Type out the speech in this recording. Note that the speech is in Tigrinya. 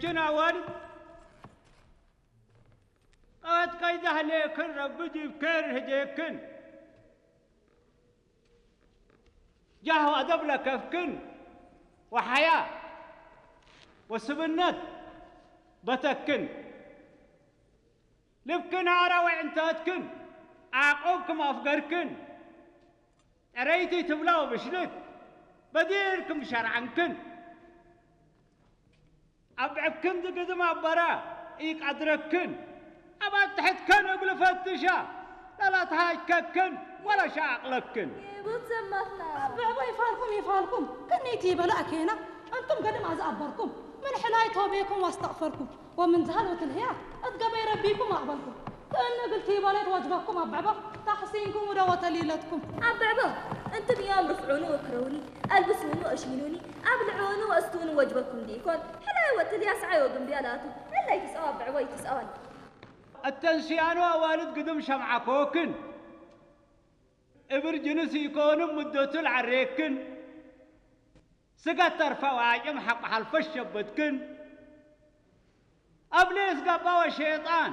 ችን ኣዋልድ ቀወት ቀይዳ ህሌክን ረቢ ዲብ ኬር ህዴክን። ጃህ ወኣደብ ለከፍክን ወሓያ ወስብነት በተክን። ልብክን ኣራዊዕ እንተትክን ዓቆብክም ኣፍገርክን። ጠረይቲ ትብላ ወብሽልት በዲርክም ሸርዓንክን። ኣብ ዕብክን ዝግዝም ኣበራ ኢቀድረክን። ኣብ ኣትሕትከን እግል ፈትሻ ለላትሃጅከክን ወለሻ ኣቕለክን። ኣበባ ይፋልኩም ይፋልኩም ቅኒቲ በላ ኣኬና። እንቱም ገድም ኣዝኣበርኩም ምን ሕላይ ቶቤኩም ዋስተቕፈርኩም። ወምን ዝሃል ወትልህያ እት ገበይ ረቢኩም ኣቕበልኩም። ክእን እግል ቲበሌት ወጅበኩም ኣበባ ታሕሲንኩም ውደ ወተሊለትኩም። ኣበባ እንትም እዮም ርፍዑኒ ወክረውኒ ኣልብሱኒ ወእሽይኑኒ ኣብልዑኒ ወእስቱኒ ወጅበኩም ዲኢኮን። ሕላይ ወትልያ ሰዓይ ወግንብያ ላቱ። ሕላይ ትጸዋ ኣበባ ይትጸዋል። እተን ስያኑ ኣዋልድ ግድም ሸምዓኮክን። እብር ጅንስ ኢኮንም ምደቱ ለዐሬክን። ስገት ተርፋ ወኣጭም ሐቆ ሐልፈሽ ሸበትክን። ኣብ ሌስ ገባ ወሸጣን።